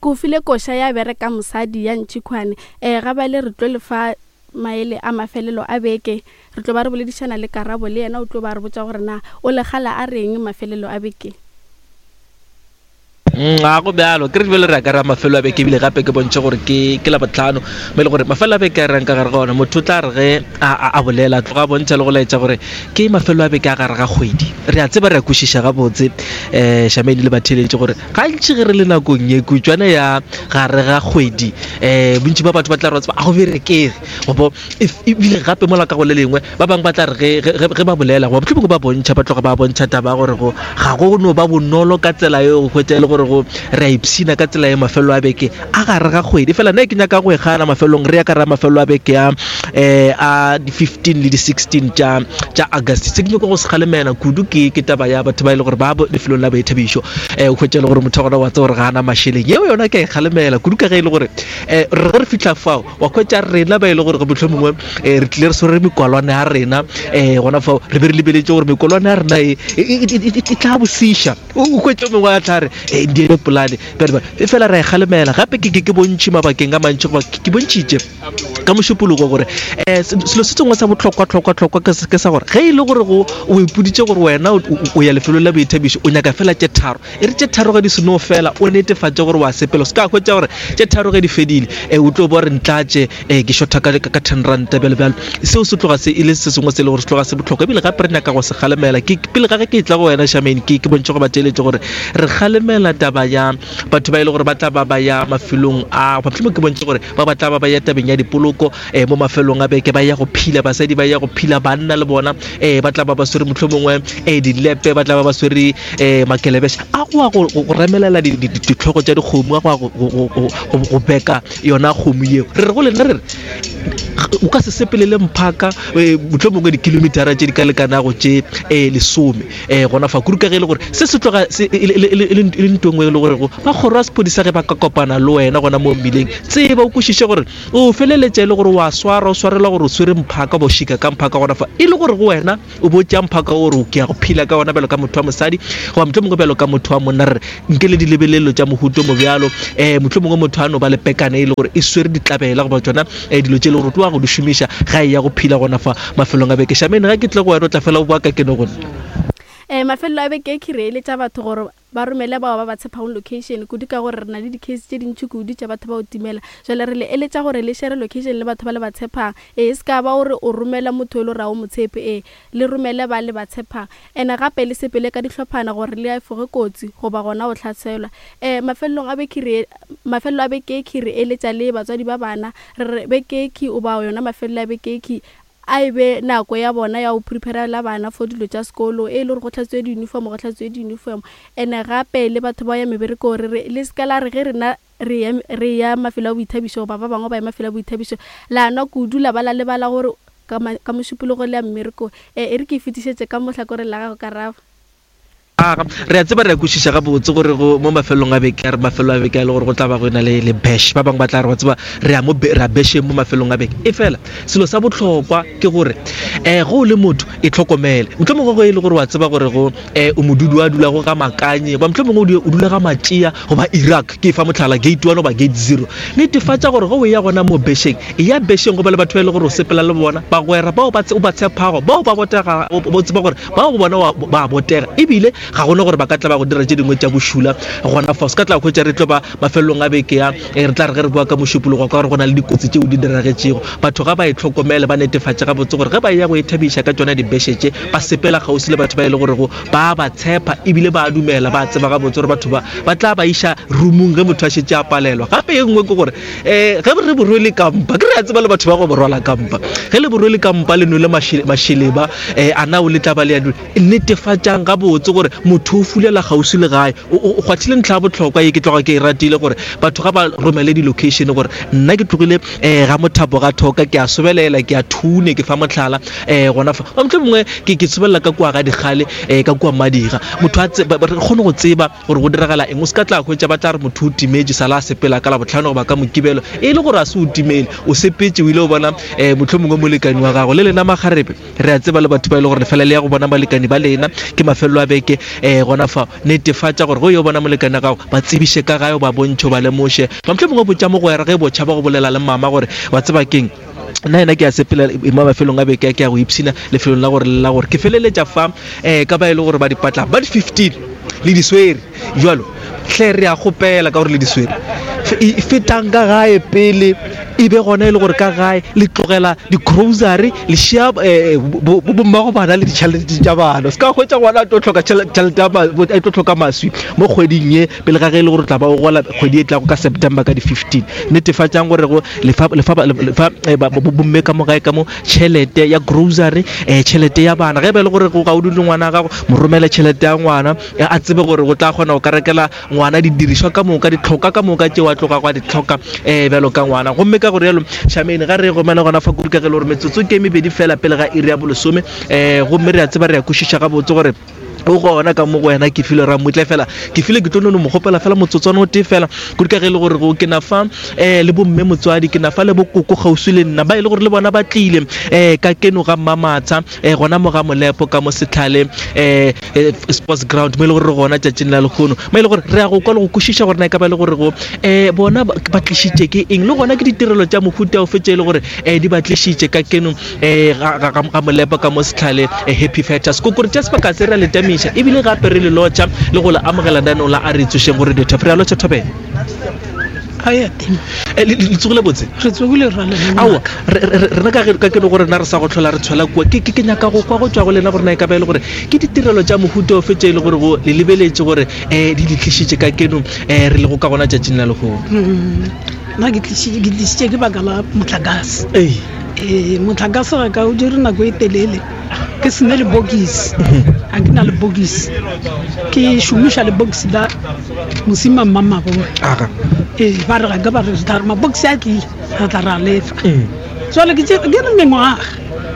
Ke o file koša ya bereka mosadi ya Ntšhikhwane. Ee, ga bjale re tlo le fa maele a mafelelo a beke. Re tlo ba re boledišana le Karabo, le yena o tlo ba re botša gore na o legala a reng mafelelo a beke. Mm, ga go bjalo ke re bjale re ya ka ra mafelo a beke ebile gape ke bontšhe gore ke ke labotlhano mo e le gore mafelo a beke a reng ka gare ga ona motho o tla re ge a bolela tloga a bontšha le go laetša gore ke mafelo a beke a gare ga kgwedi re a tseba re a kwešiša gabotse um shamedi le batheeletše gore gantši ge re le nakong ye kutšwana ya gare ga kgwedi um bontši ba batho ba tla re tseba a go berekege gobo ebile gape mola ka go le lengwe ba bangwe ba tla re ge ba bolela goba mohlomongwe ba bontšha ba tloga ba bontšha taba gore go ga go no ba bonolo ka tsela eo go hwetša e le gore go re a ipshina ka tsela ye mafelo a beke a gare ga kgwedi fela nna ke nyaka go e gana mafelong re ya ka ra mafelo a beke a um a di-15 le di-16 tša tša august se ke nyako go se kgalemela kudu ke ke taba ya batho ba e le gore ba lefelong la boithabišo um o hwetša e le gore motho wa gona wa tseba gore ga ana mašeleng yeo yona ke a e kgalemela kudu ka ge e le gore um re ge re fitlha fao wa hwetša rena ba e le gore motlho mongwe um re tlile re swere mekwalwane ya rena um gona fao re be re lebeletše gore mekwalwane ya rena e, e, e, e tla bosiša o hwetša mongwe a tla re e ndiele polane bjale e fela ra e kgalemela gape ke ke bontšhi mabakeng a mantši goba ke bontšhitše ka mošupologo gore um selo se sengwe sa bohlokwa-hlokwa-hlokwa ke sa gore ge e le gore go o ipoditše gore wena o ya lefelong la boithabišo o nyaka fela tše tharo e re tše tharo ge di seno fela o netefatše gore wa sepela se ka hwetša gore tše tharo ge di fedile um o tlo bo re ntlatše um ke shotha ka ten ranta bjalo bjalo seo se tloga se e le se sengwe se e le gore se tloga se bohlokwa ebile gape re nyaka go se kgalemela ke pele ga ge ke tla go wena shamane ke ke bontšhe go ba theeletše gore re kgalemela taba ya batho ba e le gore ba tla ba ba ya mafelong a mohlomong ke bontšhe gore ba ba tla ba ba ya tabeng ya dipoloko um mo mafelong a beke ba ya go phila basadi ba ya go phila banna le bona um ba tla ba ba swere mohlomongwe um dilepe ba tla ba ba swere um makelebesha a go ya go remelela ditlhogo tša dikgomo a go ya go beka yona kgomo yeo re re go lena re re o ka se sepelele mphaka eh, motlho mongwe dikilometara tše di ka lekanago tše um lesome um gona fa kudu ka ge e le gore se se tloga e le nto nngwe e le gorego ba kgoro ya sephodisa ge ba ka kopana le wena gona mo mmileng tseba o kwešiše gore o feleletša e le gore wa swara o swarelwa gore o swere mphaka ba o šika ka mphaka gona fa e le gore go wena o bo tšea mphaka o gore o ke ya go phela ka ona bjalo ka motho wa mosadi goba motlho mongwe bjalo ka motho wa monna re nke le dilebelelo tša mohuto mo bjalo um motlho mongwe motho a no ba le pekane e le gore e swere ditlabela goba tsona um dilo tše e le gore o tloga go di šomiša ga e ya go phela gona fa mafelong a beke shamene ga ke tle go wena o tla fela o boa ka keno gone um mafelelo a beke ke re eletša batho gore Ba romele bao ba ba tshepago location kudu ka gore re na le di case tše dintši kudu tša batho ba go timela. Jwale re le eletša gore le share location le batho ba le ba tshepang. Ee, e se ka ba gore o romela motho e le gore ga o mo tshepe. Ee, le romele ba le ba tshepang. Ene gape le sepele ka dihlophana gore le efoge kotsi goba gona go hlaselwa. Ee, mafelelong a beke re mafelelo a bekekhi re eletša le batswadi ba bana. Re re bekekhi goba yona mafelelo a bekekhi A e be nako ya bona ya go prepare-la bana for dilo tša sekolo, e le gore go hlatswiwe di-uniform, go hlatswiwe di-uniform. And-e gape le batho ba ya meberekong re re le seka la re ge rena re ya, re ya mafelo a boithabišo goba ba bangwe ba ya mafelo a boithabišo la nwa kudu la ba la lebala gore ka, ka Mošupologo le ya mmerekong. E re ke e fetišetše ka mo hlakoreng la gago Karabo. Aga, re a tseba re a kwešiša gabotse gore go mo mafelong a beke a re mafelo a beke a le gore go tla ba go ena le le bash ba bangwe ba tla re wa tseba re ya mo re a basheng mo mafelong a beke e fela selo sa bohlokwa ke gore um go o le motho e tlhokomele mohlomongwe go e le gore wa tseba gore go um o modudi wa dulago ga makanye goba mohlomongwe o dula ga matšea goba iraq ke fa mohlala gate one goba gate zero netefatša gore go o ya gona mo basheng e ya basheng go ba le batho ba e le gore o sepela le bona bagwera bao o ba tshepago bao ba botega o tseba gore Bao go bona ba a botega ebile ga gona gore ba ka tla ba go dira tše dingwe tša bošula gona fa. Se ka tla hwetša re tlo ba mafelelong a beke ya eh, re tla re ge re bua ka mošupologo ka gore go na le dikotsi tšeo di diragetšego. Batho ga ba itlhokomele ba netefatše gabotse gore ge ba eya go ithabiša ka tšona dibese tše ba sepela kgauswi le batho ba e le gorego ba ba tshepa ebile ba dumela ba tseba gabotse gore batho ba ba tla ba iša roomong ge motho a šetše a palelwa. Gape e nngwe ke gore um ge re borwele kampa ke re a tseba le batho ba go borwala kampa ge le borwele kampa le nwele mašeleba um a na o le tla ba le ya netefatšang gabotse gore motho o fulela kgauswi le gae o kgwathile ntlha ya bohlokwa ye ke tloga ke e ratile gore batho ga ba romele di-location gore nna ke tlogile um ga mothapo ga thoka ke a sobelela ke a thune ke fa motlhala um gona fa motlho mongwe ke sobelela ka kua ga dikgale um ka kua madira motho a re kgone go tseba gore go diragala eng o se ka tla hwetša ba tla re motho o timetše sala a sepela ka labohlano goba ka mokibelo e le gore a se o timele o sepetše o ile o bona um motlho mongwe molekani wa gago le lena makgarebe re a tseba le batho ba e le gore lefela le ya go bona balekani ba lena ke mafelelo a beke. um gona fa netefatša gore go yo bona molekane wa gago ba tsebiše ka gae o ba bontšhe o ba lemoše ba mohlomongwe mongwe botša mogwera ge botšha ba go bolela le mama gore wa tseba keng nna ena ke a sepela mo mafelong a beke ke ya go ipshina lefelong la gore le la gore ke feleletša fa um ka ba e le gore ba dipatla ba di 15 le di swere jalo hle re a kgopela ka gore le di swere fetang ka gae pele e be gona e le gore ka gae le tlogela di-grocery le šia eh, bommago bana le ditšhelete tša bana se ka hwetša ngwana a tlo hloka tšhelete a tlo hloka maswi mo kgweding ye pele ga ge e le gore tla ba o gola kgwedi e tlago ka september ka di-15 netefatšang gore go lefa eh, bomme ka mo gae ka mo tšhelete ya grocery um tšhelete ya bana ge e ba e le gore ga o dule ngwana gago mo romele tšhelete ya ngwana a tsebe gore o tla kgona go ka rekela ngwana didirišwa ka moka ditlhoka ka moka tšeo a tloga go a di tlhoka um bjalo ka ngwana gomme ka gore yalo shamene ga re gomela gona fa kudu ka ge le gore metsotso ke mebedi fela pele ga iri ya bolesome um gomme re a tseba re a kwešiša gabotse gore o gona ka mo go wena ke file ramutle fela ke file ke tlo nono mo kgopela fela motsotswana o tee fela kudu ka ge e le gore go ke na fa um le bomme motswadi ke na fa le bokoko kgauswi le nna ba e le gore le bona ba tlile um ka keno ga mmamatsha um gona mo ga molepo ka mo setlhale um sports ground mo e le gore re gona tšatšing la lekgono mo e le gore re ya go kwa le go kwešiša gore na e ka ba e le gore go um bona ba tlišitše ke eng le gona ke ditirelo tša mohuta ofe tše e le gore um di ba tlišitše ka keno um ga molepo ka mo setlhale happy factors ko kore tša sebaka se re a le tamiša ebile gape re le lotšha le go le amogela nanong la a re tsošeng gore ditho re a lotšha thobela Eh, le tsogile botse re tsogile ra aowa rena ka ka ke gore rena re sa go tlhola re tshwela kua ke ke nyaka go kwa go tswa go lena gore na e ka ba e le gore ke ditirelo tša mohuta ofe tše e le gore go le lebeletše gore um di le tlišitše ka keno um re le go ka gona tšatšing la legono mm. nna ke tlišitše ke baka la motlakase ee motlakase ga ka o dire nako e telele ke sene lebokisi ga ke na lebokisi ke šomiša lebokisi la mosima mmamabone ee ba re ga ke ba re tla re mabokisi a tlile re tla ra lefa mm. jale ke re mengwaga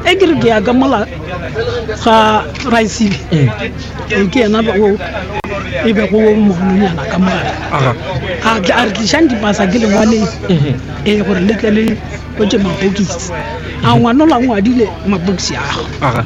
e ke re ke ya ka mola ga raisibe mm. ee, ke yena o e be go mogolonyana ka mola a re tlišang dipasa ke lengwaleng mm-hmm. ee gore le tle le o tše mabokisi a ngwana la ngwadile mabokisi ago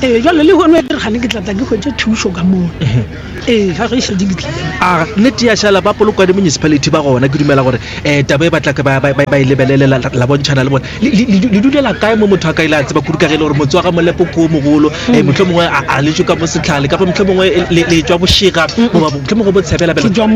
ee jale le gone re gane ke tlatla ke hwetše thušo ka moo mhm. ee ga ge šedi ke tlile a nnete ya šala ba polokwane municipality ba gona ke dumela gore um taba e batla ba e lebelele la bontšhana le bone le dulela kae mo motho a ka ile a tseba kudu ka ge e le gore motse wa ga molepo ko mogolo um motlho mongwe a le ka mo setlhale kapa motlho mongwe le tswa bošega goba motlho mongwe bo tshebela le tswa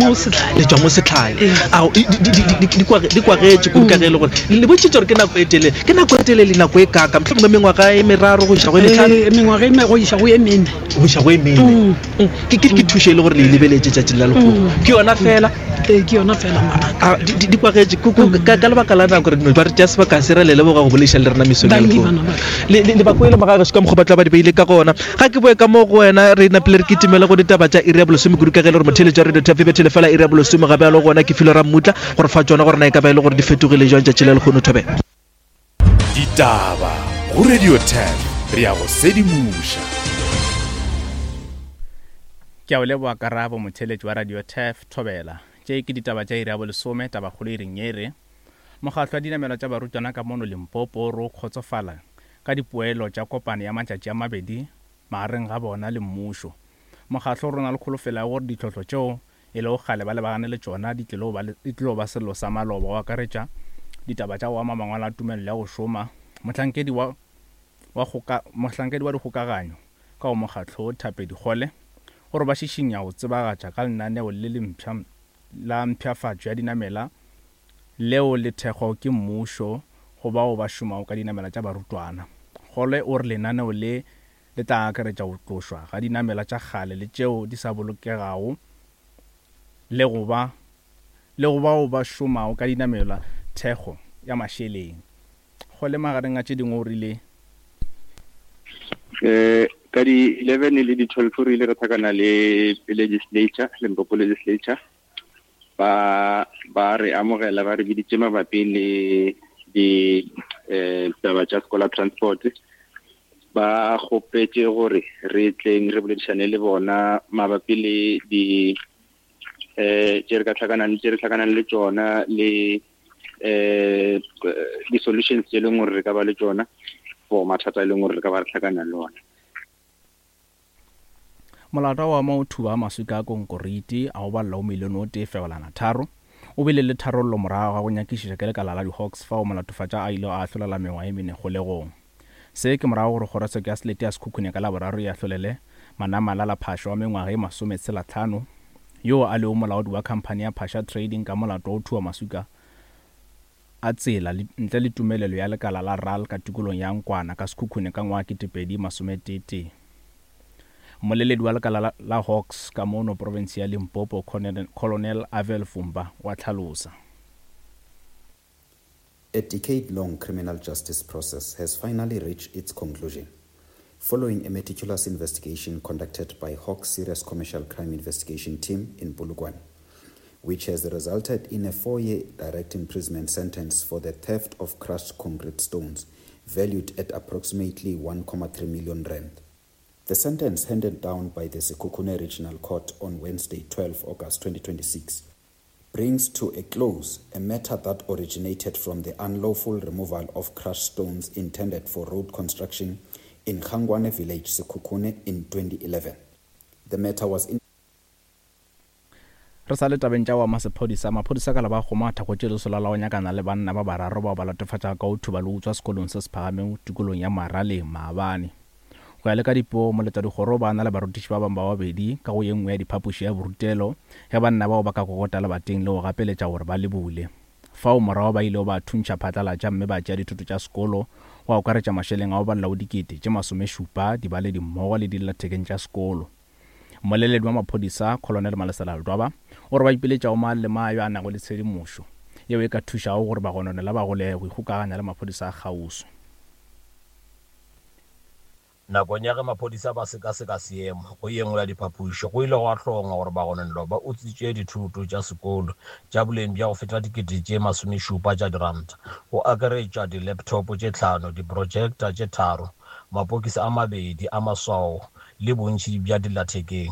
mo setlhale ao di kwagetše kudu ka ge e le gore le bontšhitše gore ke nako e telele ke nako e telele nako e kaka motlho mongwe mengwaga e meraro go iša go e metlhano eh, mengwaga e go iša go e mene go iša go e mene mm. Mm. ke thušo e le gore le e lebeletše tšatšing la lekgono mm. ke yona fela ee ke yona fela ngwanaka di kwagetše ka lebaka la nako re no ba re tšea sebaka se re le leboga go bolediša le rena mesong ya lehono le ba kwele magagešo ka mokgwa ba tla ba di beile ka gona ga ke boe ka mo go wena re napile re kitimele go ditaba tša iri ya bolesome kudu ka ge e le gore motheletši wa radio tv bethele fela iri ya bolesome ga bjalo gona ke filo ra mmutla gore fa tšona gore na e ka ba e le gore di fetogile jwang tšatši la lehono thobela Ditaba go Radio 10 re ya go sedimoša. Ke a o leboa Karabo, motheeletši wa Radio Turf, Thobela. Tše ke ditaba tša iri ya bolesome, tabakgolo iring ye e re, Mokgatlo wa dinamelwa tša barutwana ka mono Limpopo o re o kgotsofala ka dipoelo tša kopano ya matšatši a mabedi magareng ga bona le mmušo. Mokgatlo o re o na le kholofelo ya gore ditlhohlo tšeo e lego kgale ba lebagane le tšona di tlilo ba, di tlilo ba sello sa maloba, go akaretša ditaba tša go ama mangwalo a tumelelo ya go šoma. Mohlankedi wa, wa kgoka, mohlankedi wa dikgokaganyo ka go mokgatlo wo, Thapedi Kgole, o re ba šišinya go tsebagatša ka lenaneo le le mpsha la mpshafatšo ya dinamela leo le thekgwago ke mmušo go bao ba šomago ka dinamela tša barutwana. Kgole o re lenaneo le Le tla akaretša go tlošwa ga dinamela tša kgale le tšeo di sa bolokegago le go ba le go bao ba šomago ka dinamelwa thekgo ya mašeleng. Kgole magareng a tše dingwe o rile. Ka di 11 le di 12 re ile ra tlhakana le legislature, Limpopo legislature, ba ba re amogela ba re biditše mabapi le di eh taba tša scholar transport ba kgopetše gore re tleng re boledišane le bona mabapi le di eh tše re ka tlhakanang tše re tlhakanang le tšona le eh di-solutions tše e leng gore re ka ba le tšona for mathata e leng gore re ka ba re tlhakana le ona. Molato wa mo thuba maswika a konkoriti a go balela o milione o tee fegelwana tharo o bile le tharollo morago ga go nyakišiša ke lekala la di-Hawks fao molatofatša a ilego a ahlolela mengwaga e mene kgolegong. Se ke morago gore kgorotsheko ya selete ya Sekhukhune ka Laboraro e ahlolele Manamalala Phasha wa mengwaga e masometshelahlano yoo a lego molaodi wa khamphani ya Phasha Trading ka molato wa go thuba maswika a tsela ntle le tumelelo ya lekala la RAL ka tikolong ya Nkwana ka Sekhukhune ka ngwaga 2011. Mmoleledi wa lekala la Hawks ka mono profense ya Limpopo, Colonel Avel Fumba wa hlalosa. A decade-long criminal justice process has finally reached its conclusion following a meticulous investigation conducted by Hawks Serious Commercial Crime Investigation Team in Polokwane, which has resulted in a four-year direct imprisonment sentence for the theft of crushed concrete stones valued at approximately 1.3 million rand. The sentence handed down by the Sekhukhune Regional Court on Wednesday, 12 August 2026, brings to a close a matter that originated from the unlawful removal of crushed stones intended for road construction in Khangwane village, Sekhukhune, in 2011. The matter was in Re sa le tabeng tša wa masephodisa, maphodisa ka la ba kgoma thakgotše lesola la go nyakana le banna ba bararo bao ba latofatšago ka go thuba le go utswa sekolong se se phagamego tikolong ya Maraleng maabane. Go ya le ka dipego, moletadikgoro o ba na le barutiši ba bangwe ba babedi ka go ye nngwe ya diphapoši ya borutelo ge banna bao ba ka kokota lebating le go gapeletša gore ba le bule. Fao morago ba ilego ba thuntšha phatlalatša mme ba tšea dithoto tša sekolo go akaretša mašeleng a go balela go dikete tše masomešupa, dibaledi mmogo le dillathekeng tša sekolo. Mmoleledi wa maphodisa, Colonel Malesela Ledwaba, o re ba ipiletša go mang le mang yo a nago le tshedimošo yeo e ka thušago gore bagononelwa ba golege go ikgokaganya le maphodisa a kgauswi. Nakong ya ge maphodisa ba sekaseka seemo go ye nngwe ya diphapoši, go ile gwa hlongwa gore bagononelwa ba utswitše dithoto tša sekolo tša boleng bja go feta dikete tše masomešupa tša diranta, go akaretša di-laptop tše tlhano, di-projector tše tharo, mapokisi a mabedi a maswao le bontši bja dillathekeng.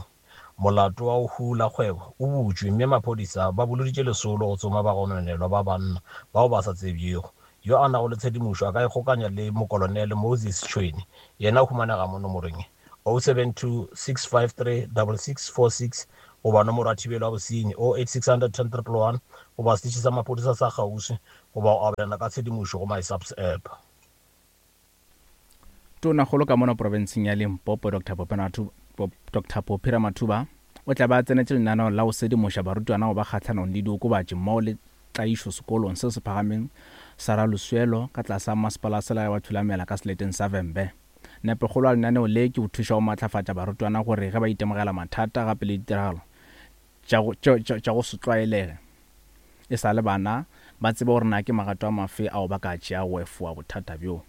Molato wa go hula kgwebo o butšwe mme maphodisa ba boloditše lesolo go tsoma bagononelwa ba banna bao ba sa tsebjego. Yo a nago le tshedimošo a ka ikgokanya le Mokolonele Moses Tšhwene, yena o humanega mo nomorong ye, 072 653 6646 goba nomoro ya thibelo ya bosenyi, 08600 10 111 goba seteše sa maphodisa sa kgauswi goba go abelana ka tshedimošo go MySAPS app. Tonakgolo ka mono profenseng ya Limpopo Dr Dr Phophi Ramathuba o tla be a tsenetše lenaneo la go sedimoša barutwana go ba kgahlanong le diokobatši mmogo le tlaišo sekolong se se phagameng sa Raluswelo ka tlase ga Masepala wa Selegae wa Thulamela ka seleteng sa Vhembe. Nepokgolo ya lenaneo le ke go thuša go matlafatša barutwana gore ge ba itemogela mathata gape le ditiragalo tša go se tlwaelege e sa le bana, ba tsebe gore na ke magato a mafe ao ba ka a tšeago go efoga bothata bjo.